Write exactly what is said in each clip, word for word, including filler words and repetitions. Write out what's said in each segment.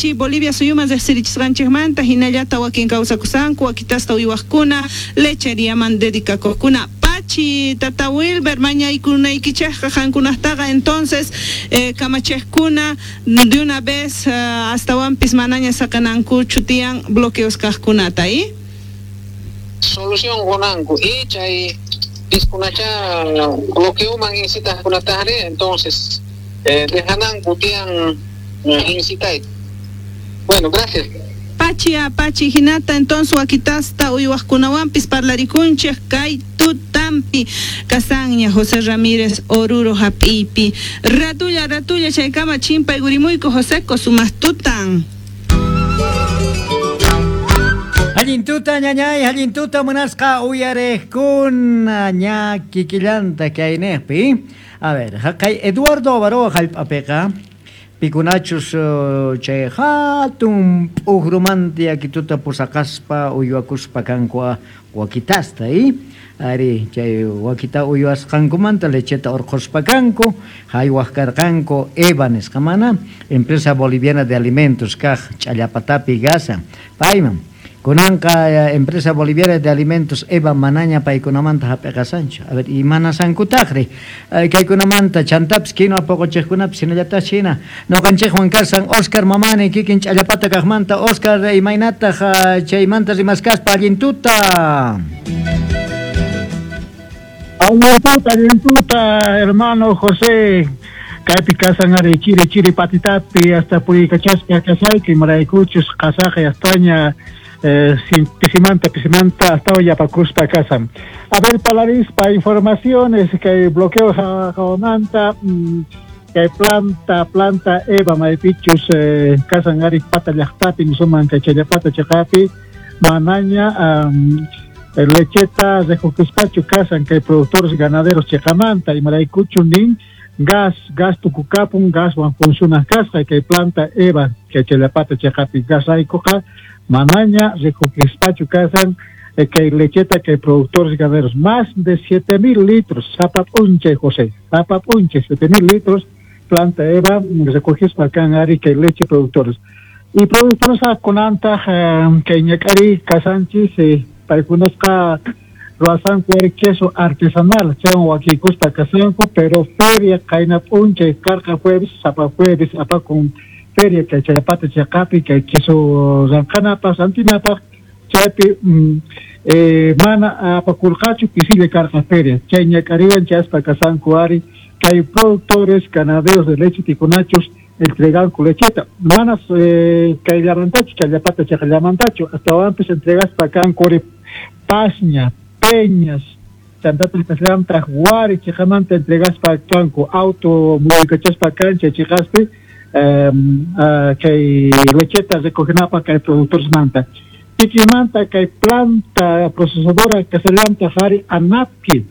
Pachi, Bolivia suyuman riqsirichisqanchikmanta hinallata wakin kawsakusanku wakitasta uywaqkuna lecheriaman dedicakuqkuna. Pachi, tata Wilber, mañaykunaykichikqa qankunaqtaqa entonces eh, kamachiqkuna de una vez uh, astawanpis manaña saqanankuchu tiyan bloqueos kaqkunata, ¿eh? Solución qunanku y chay piskunacha bloqueoman incitaqkunataqri entonces eh, dejananku tiyan eh, incitay. Bueno, gracias. Pachi, pachi, hinata entonces wakitasta uywaqkunawanpis parlarikunchik kay tutampi kasanña José Ramírez Oruro hap'ipi. Ratulla, ratulla chaykama chimpay gurimuyku Joseco sumaq tutan. Allin tuta ñañay, allin tuta munasqa uyariqkuna ña kikillanta kayniqpi. A ver, haqay Eduardo Avaroa hallp'apiqa pikunachus chay hatun p'uqrumanta yakituta pusaqaspa uywakuspa kanku wakitasta, ¿eh? Ari chay wakita uywasqankumanta lecheta urquspa kanku, haywaq karqanku EVA nisqamana, Empresa Boliviana de Alimentos kaq Ch'allapatapi gasa. Payman kunanqa Empresa Boliviana de Alimentos EVA manaña paykunamanta hap'iqasanchu. A ver, imanasankutaqri kaykunamanta chantapis quinua puquchiqkunapis hinallataq hina ñuqanchikwan kasan Oscar Mamani kikin Ch'allapata kaqmanta. Oscar, imaynataq chaymanta rimaskaspa allin tuta? Allin tuta, allin tuta, hermano José. Kaypi kasan ari chiri chiri patitapi hasta purikachaspa kasayki maraykuchus qasaqa yastaña Eh, pisimanta, pisimanta, hasta hoy apakuspa kasan. A ver, palarispa informaciones que bloqueo jawamanta, que planta, planta EVA maypichus eh, kasan ari pata llaqtapi, nisuman kay challapata chiqapi, manaña um, lecheta rejukispachu kasan kay productores ganaderos chiqamanta, imaraykuchu nin gas, gas tukukapun, gas wan funciona kasqa kay planta EVA kay challapata chiqapi gas raykuqa manaña rejukispachu kasan eh, que lecheta que productores ganaderos más de siete mil litros zapapunche José zapapunche siete mil litros planta EVA recogis kan ari que leche productores y productores a conanta eh, que ñakari kasanchis eh, paykunasqa ruwasanku ari queso artesanal chaywan wakikuspa kasanku pero feria qayna p'unchay karqa jueves sapa jueves apakun feria kay Challapata chiqapi kay queso ranqanapaq rantinapaq chaypi mm, eh, mana apakurqachu pisilla karqa feria chay ñak'ariwan chayaspa kasanku ari kay productores ganaderos de leche tikunachus entreganku lecheta manas eh, kay llamantachu Challapata chiqallamantachu astawanpis entregaspa kanku ari Pasña, Peñas chantataq kasllamtaq Wari chiqamanta entregaspa kanku auto muyukachaspa kan chay chiqaspi Um, uh, kay lecheta recogenapa kay productores manta kikimanta kay planta procesadora kasallanta hari anapki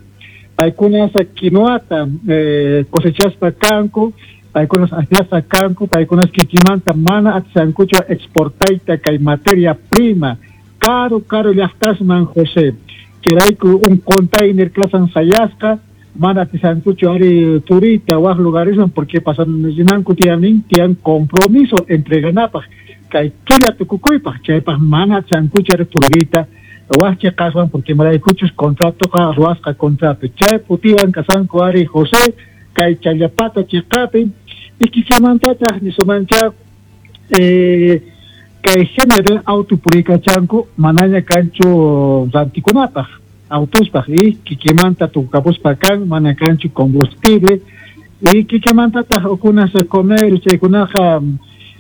paykunas quinoata eh, cosechaspa kanku paykunas akllasqa kanku paykunas kikimanta mana atisankuchu exportayta kay materia prima caro caro llaqtasman José chayrayku un container kasan sayasqa mana atisankuchu ari turita waj lugaresman porque pasan rinanku tiyanin tiyan compromiso entreganapaq kay killa tukukuypaq chaypaq mana atisankuchu ari turita waj chiqaswan porque maraykuchus contratoqa ruwasqa contrato chay putiwan kasanku ari José kay Challapata chiqapi y kikimantataq nisumancha eh, kay género auto purikachanku manaña kanchu rantikunapaq autospaq y kikimanta tukapuspa kan mana kanchu combustible y kikimantataq ukunas comer chaykunaqa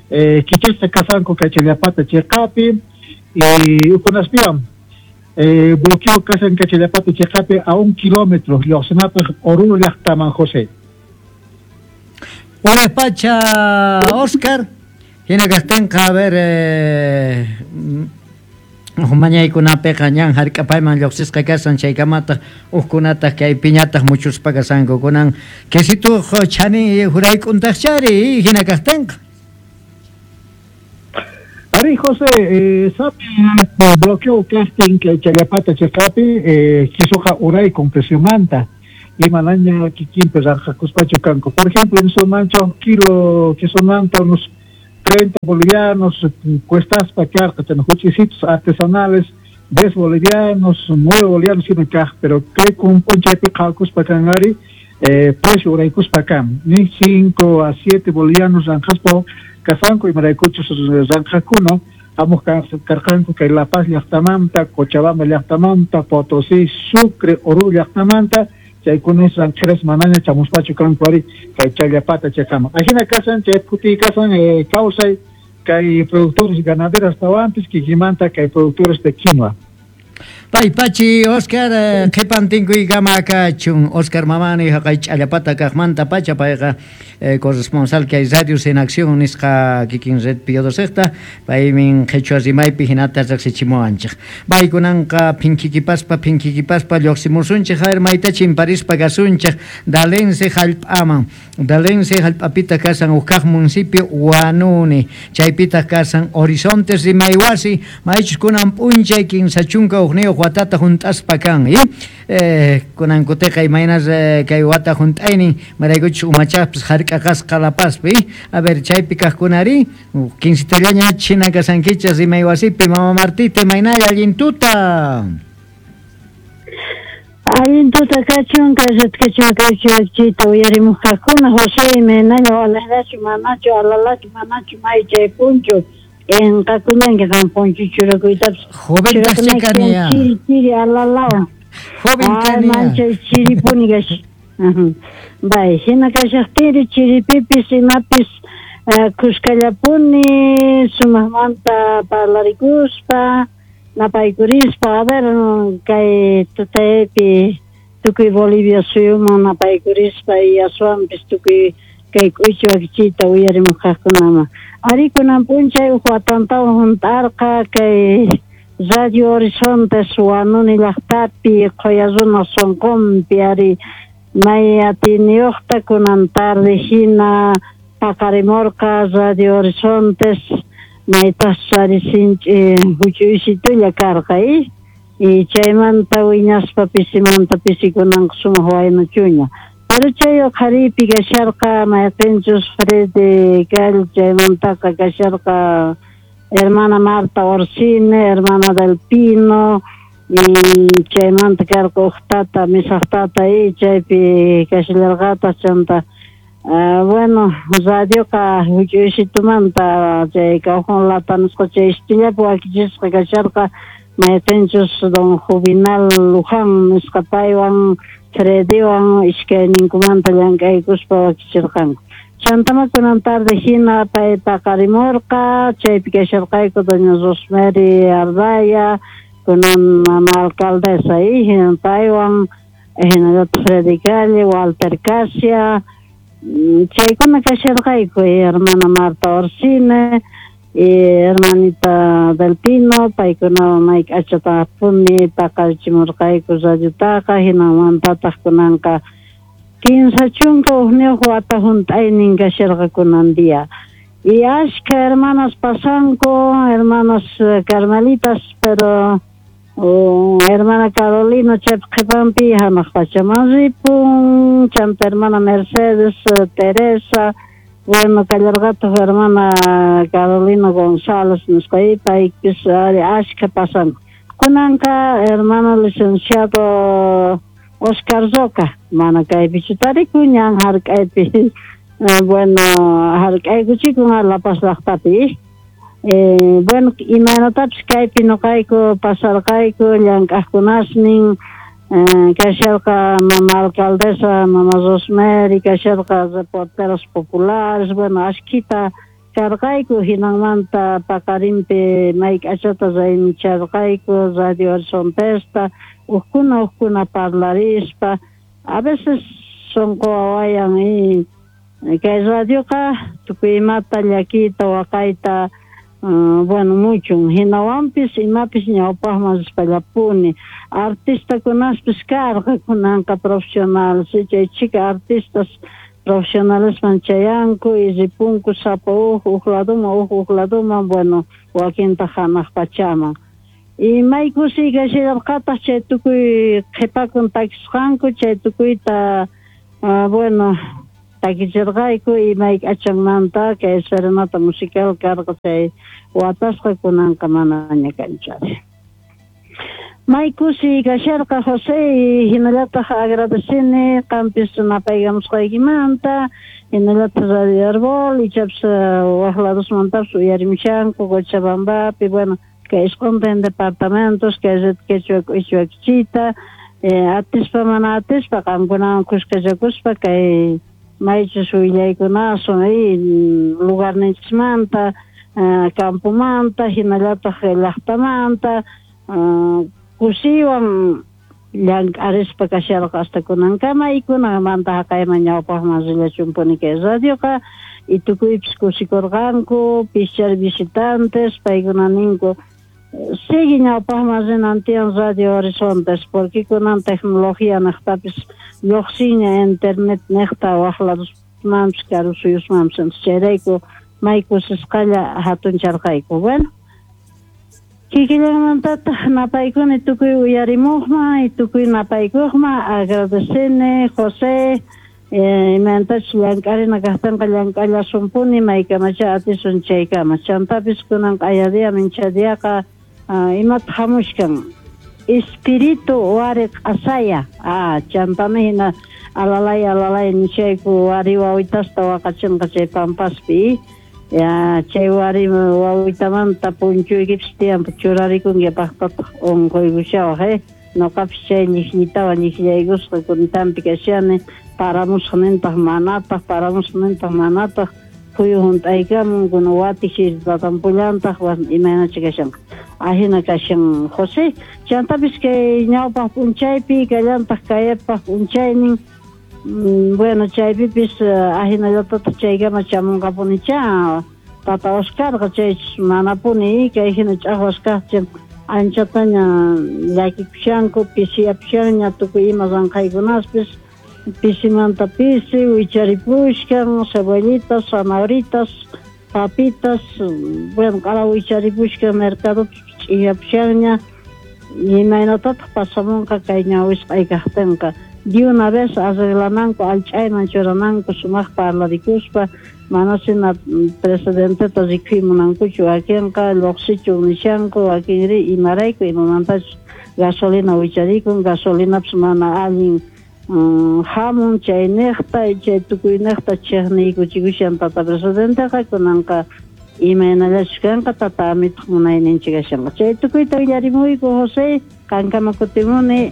eh, kichasqa kasanku kay Challapata chiqapi y ukunaspiwan eh, bloqueo kasan kay Challapata chiqapi a un kilómetro lluqsinapaq Oruro llaqtaman José. Hola pacha Oscar, hina kaqtinqa a ver eh, mañaykunapiqa ñan hark'apayman lluqsisqa kasan chaykamataq hukkunataq kay piñataq muchuspa kasanku kunan quesituq chani hurayk'untaqchari hina kaqtinqa. Ari José, eh, sapi bloqueo kaqtin kay Challapata chiqapi eh, quisuqa uraykun preciomanta imanaña kikinpi ranqakuspachu kanku. Por ejemplo, en Somancho kilo quesomanta unos treinta bolivianos, cuestaspa karqa, chana huch'isitos artesanales, diez bolivianos, nueve bolivianos hina kaq, pero kay p'unchaypi qhawakuspa kan ari, eh, precio uraykuspa kan, ni cinco a siete bolivianos ranqaspa kasanku, imaraykuchus ranqakuna, hamuq karqanku kay La Paz llaqtamanta, Cochabamba llaqtamanta, Potosí, Sucre, Oruro llaqtamanta, chaykunas ranqeras manaña chamuspachu kanku ari kay Challapata chaykaman. Ajina kasan chay phutiy kasan eh, kawsay kay productores ganaderos tawanpis kikimanta kay productores de quinoa. Pay pachi Oscar qhipan tinkuykama kachun Oscar Mamani haqay Challapata kaqmanta pacha payqa eh, corresponsal kay Radios en Acción nisqa kikin red Pío dosejta paymin qhichwa rimaypi hinata riqsichimuwanchik. Paykunanqa phinkikipaspa phinkikipaspa lluqsimusunchik a ver mayta chimparispa kasunchik Dalense hallp'aman. Dalense hallp'apita kasan huk kaq municipio Huanuni, chaypitaq kasan Horizontes rimaywasi maychus kunan p'unchay kinsa chunka hukniyuq watata hunt'aspa kan y eh, kunan kutiqa imaynas eh, kay wata hunt'aynin maraykuchus umachaqpis hark'aqasqa La Pazpi. A ver chaypi kaqkunari quincitallaña china kasankichas rimaywasipi. Mama Martita, imaynalla, allin tuta. Allin tuta kachun, kay uyarimuqkaqkuna. José, imaynalla, walaqllachu, manachu, alalachu, manachu, may chay punchu enqakullanki qam punchu churakuytapas. Joven kani. Chiri chiri alalawan. Joven kani. Manchay chiripuni kash. Bay, hina kashaqtinri chiripipis imapis kuskallapuni sumaqmanta parlarikuspa napaykurispa. A ver, kay tutaypi tukuy Bolivia suyuman napaykurispa y aswanpis tukuy kay k'uychi wakichiyta uyarimuqkaqkunaman. Ari kunan p'unchay huk watantawan hunt'arqa kay Radio Horizontes Huanuni llaqtapi qhuya runa sunqunpi ari may atiyniyuqta kunan tarde hina paqarimurqa Radio Horizontes maytaqchus ari sinch'i huch'uysitulla karqa y y chaymanta wiñaspa pisimanta pisi kunanqa sumaq waynachuña. Pero chay uqhariypi kasharqa mayqinchus Freddy Gall, chaymantaqa kasharqa hermana Marta Orsine, hermana del Pino, y chaymanta karqa huk tata, misaq tata y chaypi kashallarqataq chanta. Uh, bueno, radioqa huch'uysitumanta chay cajón lata nisqa chay istillapi wakichisqa kasharqa mayqinchus don Juvenal Luján nisqa paywan Freddywan iskayninkumanta llank'aykuspa wakichirqanku. Chantama kunan tarde hina pay paqarimurqa, chaypi kasharqayku doña Rosemary Ardaya, kunan mama alcaldesa y paywan hinallataq Freddy Calle, Walter Casia, chaykuna kasharqayku y hermana Marta Orsine y hermanita del Pino, paykunawan may k'achatapuni paqarichimurqayku radiotaqa. Hinamantataq kunanqa kinsa chunka hukniyuq wata hunt'aynin kasharqa kunan día. Y ashka hermanas pasanku, hermanas carmelitas, pero oh, hermana Carolina chaypi qhipanpi hanaq pachaman ripun, chanta hermana Mercedes, Teresa, bueno, kallarqataq hermana Carolina González nisqa paypis ari ashka pasanku. Kunanqa hermano licenciado Oscar Roca, mana kaypichu tarikun ñan hark'aypi, bueno, hark'aykuchikun La Paz llaqtapi. Eh, bueno, imaynatapis kaypi nuqayku pasarqayku llank'aqkunasnin, eh, kasharqa mama alcaldesa, mama Rosemary, kasharqa reporteros populares, bueno, ashkita karqayku. Hinanmanta paqarinpi may k'achata raymicharqayku Radio Horizontesta, ukkuna ukkuna parlarispa, a veces sunqu wawayan y kay radioqa tukuy imata llakiyta waqayta uh, bueno, muchun hinawanpis imapis ñawpaqman rispallapuni. Artistakunaspis karqa, kunanqa profesionales, chay chika artistas profesionalesman chayanku y ripunku sapa huk huk laduman huk huk laduman, bueno, wakintaq hanaq pachaman. Y may kusiy kashallarqataq chay tukuy qhipakun takisqanku chay tukuyta uh, bueno, Takichirqayku imay k'achanmanta kay serenata musical karqa chay watasqa kunanqa manaña kanchari. May kusi kasharqa José hinallataq agradecini qampis napaykamusqaykimanta hinallataq Radio Arbol ichapas waq ladosmantapis uyarimushanku Cochabambapi, bueno, kay isquntin departamentos kay red quechua k'ichwakichita atispa mana atispa qamkunawan kuskachakuspa kay maychus willaykunasun lugarninchismanta campomanta hinallataq llaqtamanta kusiwan llank'arispa kasharqa hasta kunankama y kunanmanta haqayman ñawpaqman rillachumpuni kay radioqa y tukuypis kusikurqanku pischar visitantes paykuna ninku sigue ñawpaqman rinan tiyan Radio Horizontes porque kunan tecnología niqtapis lluqsinña internet niqta waq ladosmanpis karu suyusmanpis chayrayku may kusisqalla hatuncharqayku. Bueno, kikillanmantataq napaykuni tukuy uyarimuqman y tukuy napaykuqman agradecini José imantachus llank'arina kaqtinqa llank'allasumpuni maykamacha atisun chaykama chantapis kunan q'aya mincha diaqa imata hamushkan espíritu wari q'asaya ah chantami hina alalay alalay nishayku wari wawitasta waqachinqa chay pampaspi ya chay wari wawitamanta punchuykipis tiyan churarikunki paqtataq unquykushawaq eh noqapis chay llikllitawan llikllaykusqa kuntampi kashani paramusqa nintaq manataq paramusqa nintaq manataq phuyu hunt'aykamun kuna watik tatampullantaq imaynacha kashanqa ahina kashan José chantapis kay ñawpaq p'unchaypi kallantaq kayapaq p'unchaynin bueno chaypipis ahinallatataq chaykama chamunqapunicha tata Oscarqa chaychis manapuni kay hina ch'aqwas kaqchin anchataña llakikushanku pisiyapushanña tukuy ima ranqaykunaspis pisimanta pisi wicharipushkan cebollitas, zanahoritas, papitas, bueno, q'ala wicharipushkan mercadopis ch'iyapushanña imaynatataq pasamunqa kay ñawisq'ay kaqtinqa de una vez arreglananku allch'ayman churananku sumaq parlarikuspa manasina presidenteta rikuymunankuchu wakinqa lluqsichun nishanku wakinri imarayku imamantachus gasolina wicharikun gasolinapis mana allin hamun chay niqta chay tukuy niqta chiqniykuchikushan tata presidenteqa kunanqa imaynallachus kanqa tata amituq munayninchik kashanqa chay tukuyta willarimuyku José qankama kutimuni.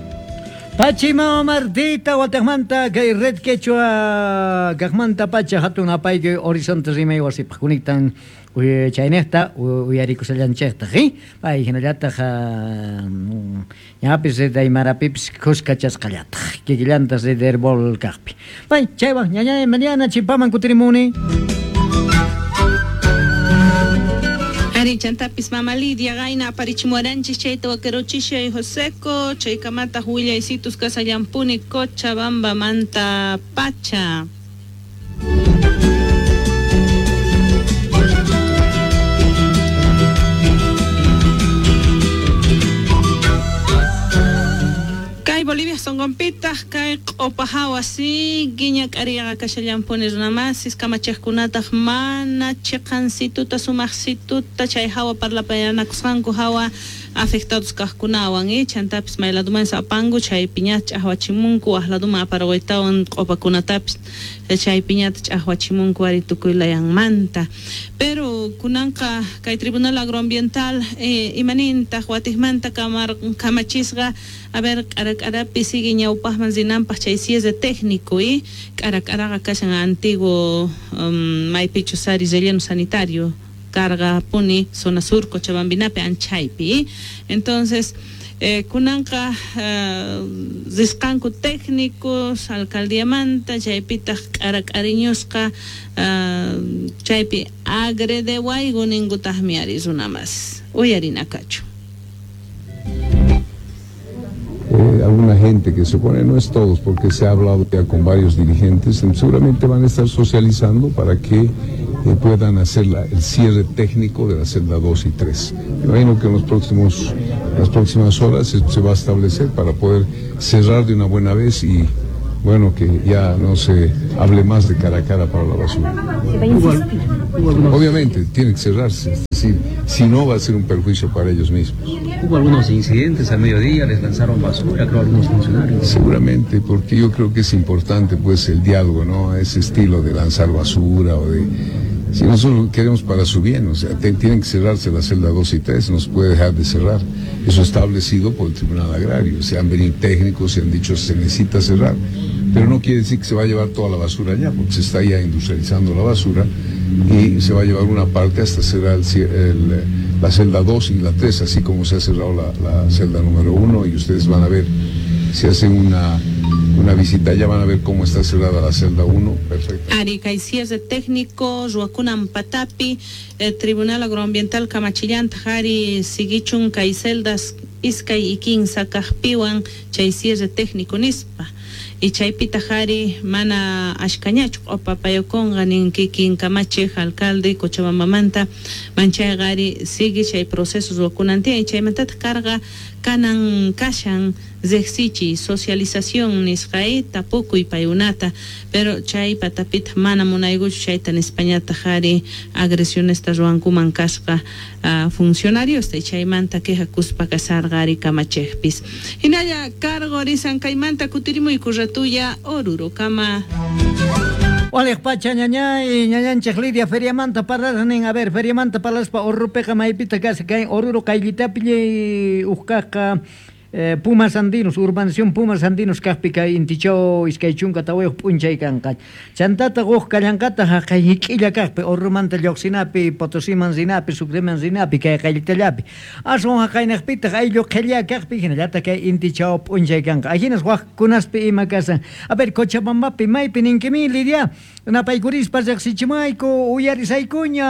Pachi mama Martita wataqmanta kay red quechua kaqmanta pacha hatun apayki Horizonte rimay wasipaq kuniktan chayniqta uyarikushallanchiqtaq pay hinallataq ñapis red aymarapipis kuskachasqallataq kikillantas red herbol kaqpi pay chaywan ñañay Mariana chimpaman kutirimuni. Ari chantapis mama Lidia gayna aparichimuaranchis chayta wakeruchishay Joseco chaykamataq willaysitus kasallampuni Cochabambamanta pacha. Kay Bolivia sonqonpitaq kay q'upahawa siguiña k'ariyaqa kashallampuni runamasis kamachiqkunataq mana chiqansituta sumaqsituta chay hawa parlapayanakusqanku hawa afectados kaqkunawan eh chantapis mayladuman apanku chaypiñata ch'aqwachimunku waq laduman aparquytawan q'upakunatapis chaypiñata ch'aqwachimunku ari tukuy layanmanta pero kunanqa kay Tribunal Agroambiental eh, imanintaq watiqmanta kamar kamachisqa a ver k'arak'arapi sigue ñawpaqman rinanpaq chay cierre técnico y k'arak'araqa kashan antiguo um, maypichus ari relleno sanitario carga puni zona sur Cochabambinapi anchaypi entonces eh, kunanqa uh, risqanku técnicos alcaldiamanta chaypitaq k'arak'ariñusqa uh, chaypi agredewayku ninkutaqmi ari runamas uyarinakachu. Eh, alguna gente que se opone, no es todos, porque se ha hablado ya con varios dirigentes, seguramente van a estar socializando para que eh, puedan hacer la, el cierre técnico de la celda dos y tres. Me imagino que en los próximos, las próximas horas se, se va a establecer para poder cerrar de una buena vez y bueno, que ya no se hable más de cara a cara para la basura. Obviamente, tiene que cerrarse, es decir, si no va a ser un perjuicio para ellos mismos. Hubo algunos incidentes al mediodía, les lanzaron basura, creo, algunos funcionarios. Seguramente, porque yo creo que es importante, pues, el diálogo, ¿no? Ese estilo de lanzar basura o de... Si nosotros queremos para su bien, o sea, te, tienen que cerrarse la celda dos y tres, no se puede dejar de cerrar. Eso establecido por el Tribunal Agrario. Se han venido técnicos, se han dicho se necesita cerrar, pero no quiere decir que se va a llevar toda la basura allá, porque se está ya industrializando la basura y se va a llevar una parte hasta cerrar el, el, la celda dos y la tres, así como se ha cerrado la, la celda número uno, y ustedes van a ver, si hacen una, una visita allá, van a ver cómo está cerrada la celda uno, perfecto. Arica y cierre técnico, Ruacunan Patapi, el Tribunal Agroambiental Kamachillanta, Jari, Siguichun, kay celdas, iskay y kinsa kaqpiwan, chay cierre técnico nispa. Y chaypita jari mana ashkañachu q'upapayakunqa nin kikin kamachiq alcalde Cochabambamanta manchayqa ari sigue chay proceso ruwakunan tiyan chaymantataq karqa kanan kashan riqsichiy socialización nisqay tapukuy paykunata pero chay patapita mana munaykuchu chayta nispañataq ari agresionesta ruwankuman kasqa uh, funcionariosta chaymanta quejakuspa kasarqa ari kamachiqpis hinalla cargo risan kaymanta kutirimuyku ratuya Oruro kama. Waliq pacha ñañay ñañanchik Lidia feriamanta parlarnin, a ver, feriamanta parlaspa Orrupeqa maypita kasa kay Oruro qayllitapi uqkaqqa eh, Pumas Andinos, urbanización Pumas Andinos kaqpi kay intichaw iskay chunka tawayuq p'unchay kanqa. Chantata quq kallanqata haqay hik'illa kaqpi Orrumanta lluqsinapi, Potosiman rinapi, Sucreman rinapi kay qayllitallapi. Aswan haqaynaqpitaq ayllu qhilla kaqpi hinallataq kay intichaw p'unchay kanqa. Ahinas waqkunaspi ima kasan. A ver, Cochabambapi maypi ninkimi Lidia, napaykurispa riqsichimayku uyarisaykuña.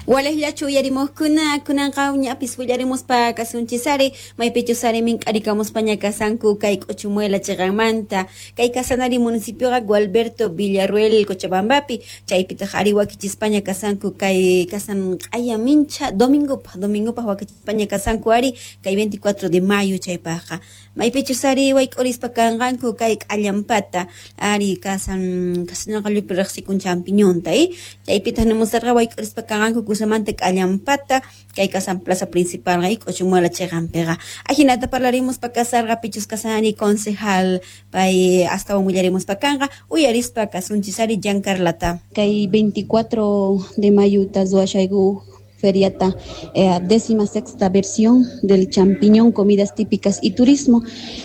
Walejllachu uyarimuqkuna kunanqa uñapis willarimuspa kasunchisari maypichus ari mink'arikamuspaña kasanku kay K'uchumuela chiqanmanta kay kasanari municipioqa Gualberto Villarruel Cochabambapi chaypitaq ari wakichispaña kasanku kay kasan q'aya mincha domingopaq domingopaq wakichispaña kasanku ari kay veinticuatro de mayo chaypaqqa maypichus ari wayk'urispa kanqanku kay k'allampata ari kasan kasanqa llupi riqsikun champiñonta eh chaypitaq nimusarqa wayk'urispa kanqanku kusamanta k'allampata kay kasan plaza principal kay K'uchumuela chiqanpiqa ajinata parlarimuspa kasarqa pichus kasani concejal pay astawan willarimuspa kanqa uyarispa kasunchis ari Giancarlata kay veinticuatro de mayo ruwashayku feriata, eh, décima sexta versión del champiñón, comidas típicas y turismo.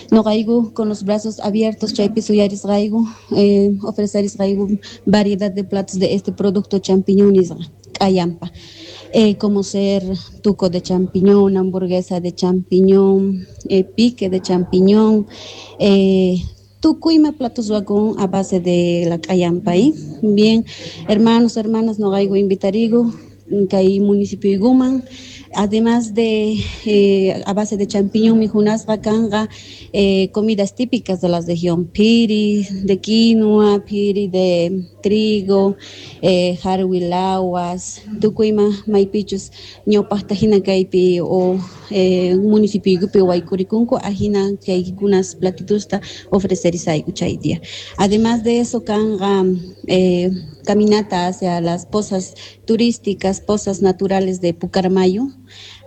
Noqayku con los brazos abiertos, chaypi suyarisqayku, eh, ofrecerisqayku variedad de platos de este producto champiñón nisqa k'allampa. Eh, como ser tuco de champiñón, hamburguesa de champiñón, eh, pique de champiñón, eh, tukuyma platos ruwakun a base de la k'allampa. ¿Eh? Bien, hermanos, hermanas, noqayku invitarigu kay municipio Iguman, además de eh, a base de champiñón mijunasqa kanqa eh, comidas típicas de la región, piri de quinoa, piri de trigo, eh, jarwilawas, tukuyma maypichus ñawpaqta hina kaypi o eh, municipio igupi waykurikunku ajina kaykunas platitusta ofrecerisayku chay día. Además de eso kanqa eh, caminata hacia las pozas turísticas, pozas naturales de Pucarmayo,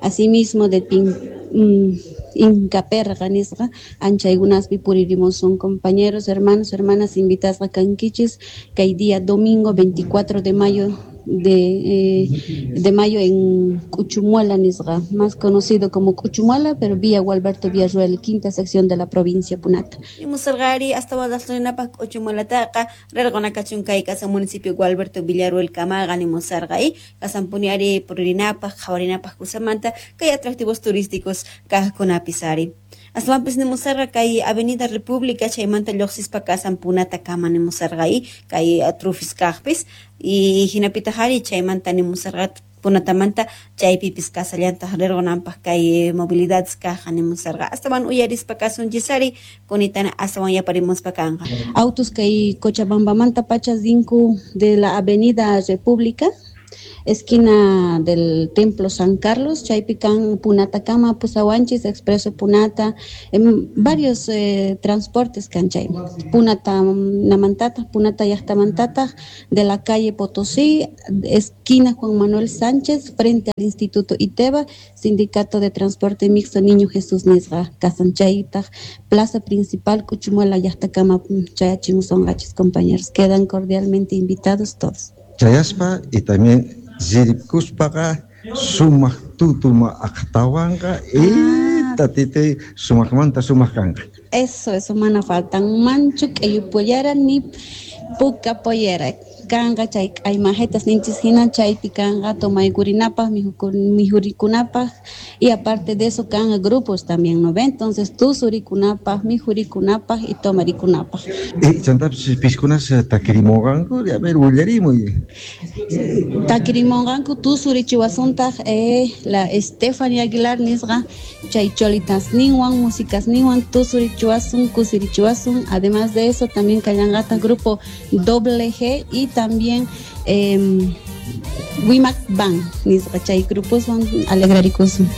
asimismo de Pin, mm, Incaperga nisqa anchaykunaspi puririmus son compañeros, hermanos, hermanas invitadas a kankichis kay día domingo veinticuatro de mayo de, eh, de mayo en Cuchumuela nisqa, más conocido como Cuchumuela, pero vía Gualberto Villarruel, quinta sección de la provincia Punata. Musargari hasta wadaslinapaq Cuchumuelataqa rarqunakachun kay kasan municipio Gualberto Villarruel kamaqa nimusarqay kasanpuni ari puririnapaq qhawarinapaq kusamanta kay atractivos turísticos kaqkunapis ari. Aswanpis nimusarqa kay Avenida República chaymanta lluqsispa kasan Punata kama nimusarqay kay trufis kaqpis y hinapitaq ari chaymanta nimusarqa Punatamanta chaypipis kasallantaq rirqunanpaq kay movilidades kaqqa nimusarqa astawan uyarispa kasunchis ari kunitana astawan yaparimuspa kanqa. Autos kay Cochabambamanta pachas rinku de la Avenida República Esquina del Templo San Carlos, chaypi kan Punatakama, pusawanchis, Expreso Punata, em, varios eh, transportes kan chay. Punata namantata, Punata llaqtamantata, de la calle Potosí, esquina Juan Manuel Sánchez, frente al Instituto ITEBA, Sindicato de Transporte Mixto Niño Jesús nisqa, kasan chaytaq, plaza principal Cuchumuela llaqtakama chayachimusonqachis, compañeros. Quedan cordialmente invitados todos. Chayaspa y también zirikuspaqa sumaq tutuma aqtawanqa y tatite sumaqmanta sumaq kanqa. Eso, eso mana faltan manchu k'ellu ni puka pollera. Kanqa chay k'aymajetas ninchis hina chaypi kanqa tomaykurinapaq mijurikunapaq y aparte de eso kanqa grupos también, ¿no ve? Entonces tusurikunapaq, mijurikunapaq y tomarikunapaq. Y chantapis piskunas takirimunqanku, a ver, willarimuy. Takirimunqanku tusurichiwasuntaq eh, la Stephanie Aguilar nisqa chay cholitas ninwan, músicas ninwan tusurichiwasun, kusirichiwasun. Además de eso también kallanqataq grupo doble G y también eh, Wimac Band, nisqa chay grupos van alegrarikusun.